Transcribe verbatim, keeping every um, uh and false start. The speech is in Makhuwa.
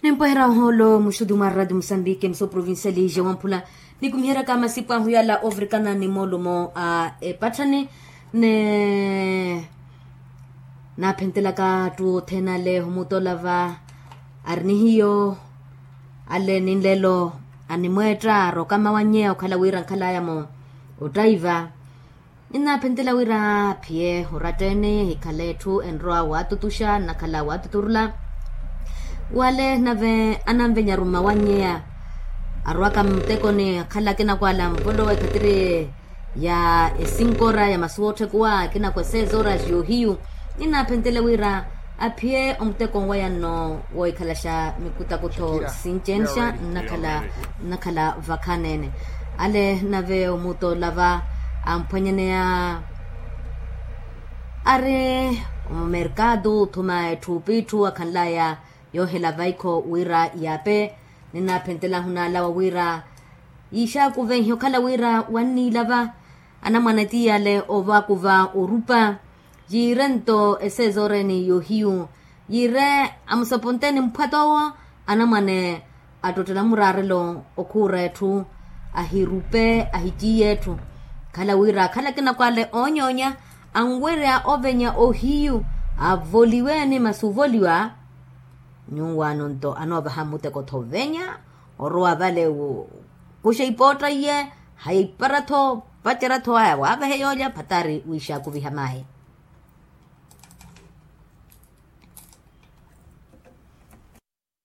Nimpwehera ohoolo muxutu mwa radio musambiki emisoo provincial ija wamphula, nikumiheryaka masipu ahu yala ovirikana ni moolumo a epatthani, ni naaphentelaka attu othene ale omutola va ari ni hiyo. Ale ni nlelo animweetta arokama wannyeya okhala wira nkhalaya-mo ottaiva. Ninaaphentela wira aphiye oratta-ene ehikhale etthu enrowa waatutuxa nnakhala waatuturula. Wale nave ananvenyaru mmawannyeya arowaka mmutekoni akhala akinakwala muvolowa ekhatiri ya esinkora ya masuwa otthekuwa akinakwa esezoras yoohiyu. Ninaaphentela wira aphiye omuteko nweya nno woohikhalaxa mikutakutho sincenxa nnakhala nnakhala vakhaneene. Ale nave omutola va amphwanyaneya ari omumerkatu othuma etthu opitthu akhanlaya yoohela vaikho wira yaape. Ninaphentelahu naalawa wira yiixakuvenhe okhala wira wanniilava anamwane tiyale ovakuva orupa yiire nto esezooreni yoohiyu yiire amusoponteni mphwatoowo anamwane attottela muraarelo okhuura etthu ahirupe ahiciiye etthu. Khala wira akhala akinakwale oonyoonya anwerya ovenya ohiyu avoliweni masi ovoliwa nyuwaano nto anoovaha mmuteko-tho ovenya orowa vale okuxa ipootta iye hayipara-tho vacerya-tho aya waavehe yoolya phatari wiixakuviha maahi.